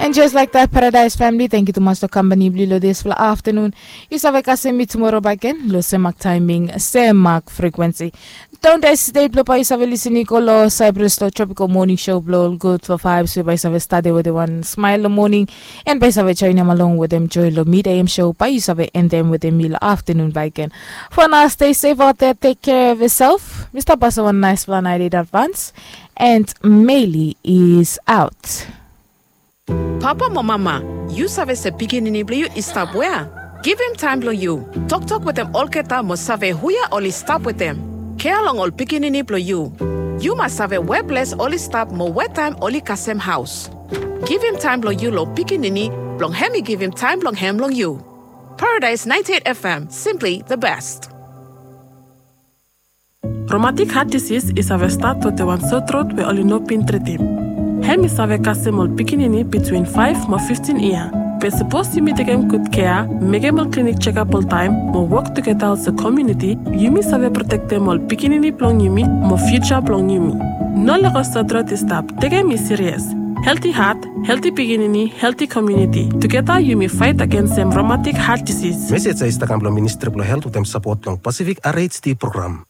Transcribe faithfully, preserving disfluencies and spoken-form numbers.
And just like that, Paradise family, thank you tumas long kampani blong yu long dispela afternoon. Yu save kasem mi tumora bakegen long sem mak timing, sem mak frequency. Don't hesitate blong bai yu save lisin i go long Cyprus long Tropical Morning Show blong Good for Vibes, we bai yu save start wetem wan smile long morning, and bai yu save joinim along wetem joy long mid A M show, bai yu save endem wetem mi long afternoon bakegen. For now, stay safe out there, take care of yourself. Mi stap pasim wan nice fala night in advance, and Meili is out. Papa mo mama, yu save se pikinini blong yu i stap wea? Givim taem blong yu. Toktok wetem olgeta mo save hua oli stap wetem. Kea long ol pikinini blong yu. Yu mas save we ples oli stap mo we taem oli kasem haos. Givim taem blong yu long pikinini, blong hem i givim taem blong hem long yu. Paradise ninety-eight F M, simply the best. Rheumatic heart disease i save stat wetem wan sotrot we oli no bin tritim. Hem i save kasem ol pikinini bitwin faef mo fiftin yia. Be sapos yumi tekem gud kea, mekem ol klinik jekap oltaem, mo wok tugeta olsem komuniti, yumi save protektem ol pikinini blong yumi mo fiuja blong yumi. No lego sotrot i stap, tekem i sirias. Helti hat, helti pikinini, helti komuniti. Tugeta yumi faet agensem rheumatic heart disease. Mesej ya i stap kam long Ministri blong Helt wetem sapot blong Pacific R H D program.